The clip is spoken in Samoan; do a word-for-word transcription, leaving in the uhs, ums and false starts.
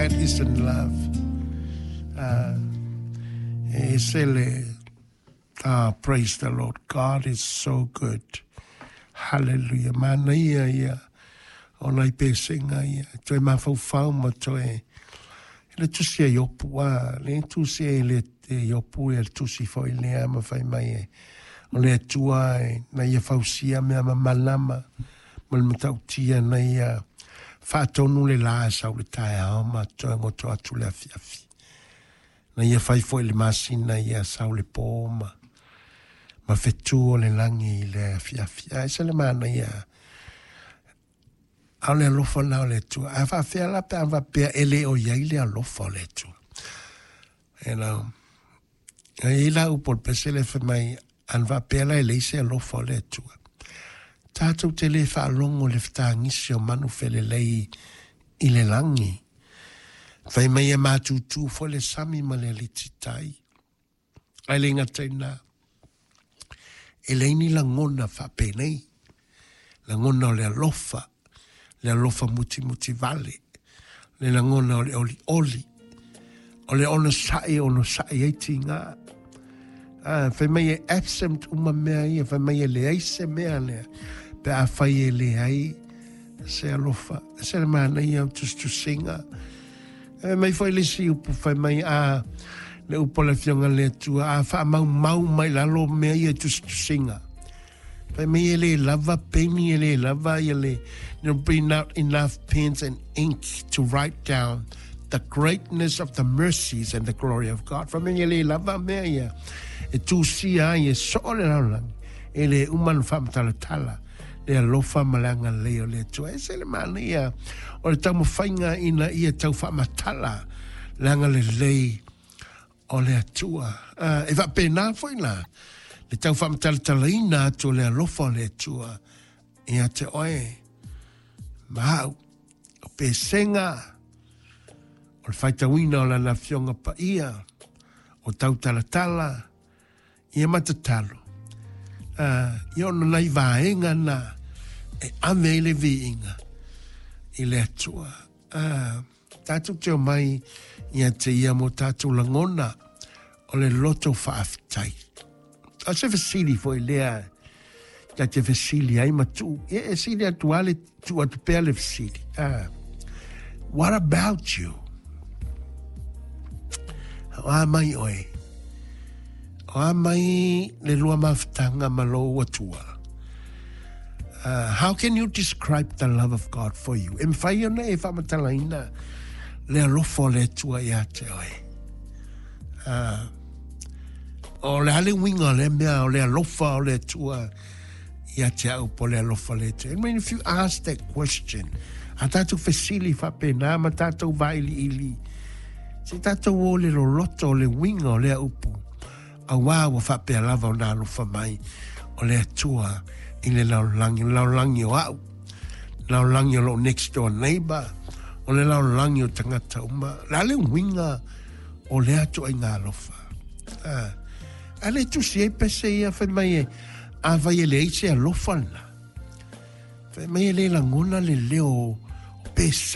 that isn't love. Uh, e se le, ah, praise the Lord. God is so good. Hallelujah. Mana ia ia. O nai pesenga ia. Toe mafaufau ma toe. Le tusi a Iopu a. Le tusi e le te Iopu e le tusi foi lea ma fai mai e. O le Atua e na ia fausia mea mamalama. Ma le matautia na ia faatonu le la e sau le taeao ma toe goto atu le afiafi. Na ia fai foi le masina ia sau le pō ma ma fetu o le lagi i le afiafi. Ae se le mana ia a o le alofa na o le Atua. A faafea la pe a faapea e le o iai le alofa o le Atua. You know, e i la upu o le pese le fai mai, ana faapea la e leai se alofa o le Atua. Tatou te le faalogo le fetagisi o manu felelei i le lagi. Fai mai e matutu foi le sami ma le alititai. Ae le gata i lena. E leai ni lagona faapenei. Lagona o le alofa, le alofa mutimuti vale, le lagona o le olioli, o le onosai onosai ai tiga. Ah, fai mai e absent uma mea ia, fai mai e leai se mea lea, pe afai e leai se alofa. Se le manaia o tusitusiga. E mai foi le isi upu fai mai a le upu o le Afioga le Atua, a faamaumau mai lalo mea ia tusitusiga. Fai mai e le lava peni e le lava ia le, there'll be not enough pens and ink to write down the greatness of the mercies and the glory of God. Fai mai e le lava mea ia e tusia ai e soo le lalolagi. E le uma na faamatalatala le alofa ma le agalelei o le Atua. E se le manaia o le taumafaiga ina ia tau faamatala le agalelei o le Atua. Uh, e faapena foi la le tau faamatalatalaina atu o le alofa o le Atua ia te oe ma au. O pesega o le faitauina o lana Afioga Paia, o tautalatala, ia ma tatalo. Uh, ia ona nai vaega na e ave ai le viiga i le Atua. Uh, tatou te omai ia te ia mo tatou lagona o le loto faafetai. O se fesili foi lea ta te fesili ai ma tuu. E, e sili atu a le tuu atu pea le fesili. Uh, what about you? O a mai oe. O a mai le lua mafutaga ma lou Atua. Uh, how can you describe the love of God for you? E mafai ona e faamatalaina le alofa o le Atua ia te oe. Uh, o le a le uiga o le mea o le alofa o le Atua ia te au po le alofa le Atua. I mean, if you ask that question, a tatou fesili faapena ma tatou vailiili, se tatou o le loloto o le uiga o lea upu, auā ua faapea lava ona alofa mai o le Atua i le lalolagi, le lalolagi o au, lalolagi o lou next door neighbor, o le lalolagi o tagata uma. Le a le uiga o lea ituaiga alofa. Ah, a le tusi ai pese ia fai mai e, afai e leai se alofa lena. Fai mai e le lagona le leo o pesega.